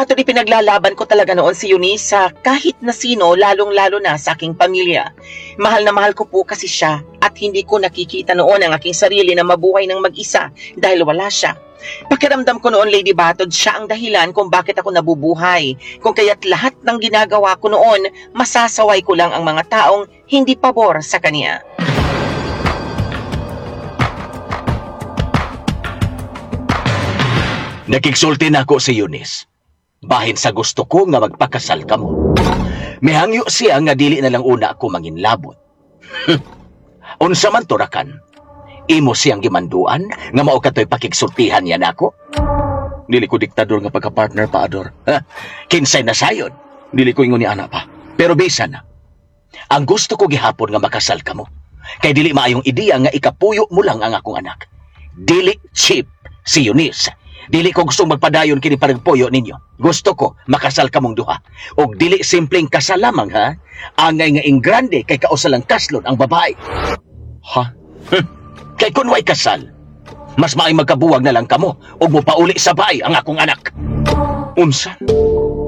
Batod, ipinaglalaban ko talaga noon si Eunice sa kahit na sino, lalong-lalo na sa aking pamilya. Mahal na mahal ko po kasi siya at hindi ko nakikita noon ang aking sarili na mabuhay ng mag-isa dahil wala siya. Pakiramdam ko noon, Lady Batod, siya ang dahilan kung bakit ako nabubuhay. Kung kaya't lahat ng ginagawa ko noon, masasaway ko lang ang mga taong hindi pabor sa kanya. Nakigsulti na ako si Eunice. Bahin sa gusto ko nga magpakasal ka mo. Mihangyo siya nga dili na lang una ako manginlabot. Unsa man turakan. Imo siyang gimanduan nga mao katoy pakigsultihan niya nako. Dili ko diktador nga pagka-partner pa, Ador. Ha? Kinsay na sayon. Dili ko ingon ni ana pa. Pero bisan na. Ang gusto ko gihapon nga makasal ka mo. Kay dili maayong ideya nga ikapuyo mo lang ang akong anak. Dili cheap si Eunice. Dili ko gustong magpadayon kini paragpuyo ninyo. Gusto ko makasal ka mong duha. Og dili simpleng kasal lamang ha. Angay nga ingrande kay kausa lang kaslon ang babae. Ha? Kay kun way kasal, mas maay magkabuwag na lang kamo ug mopauli sa baay ang akong anak. Unsa?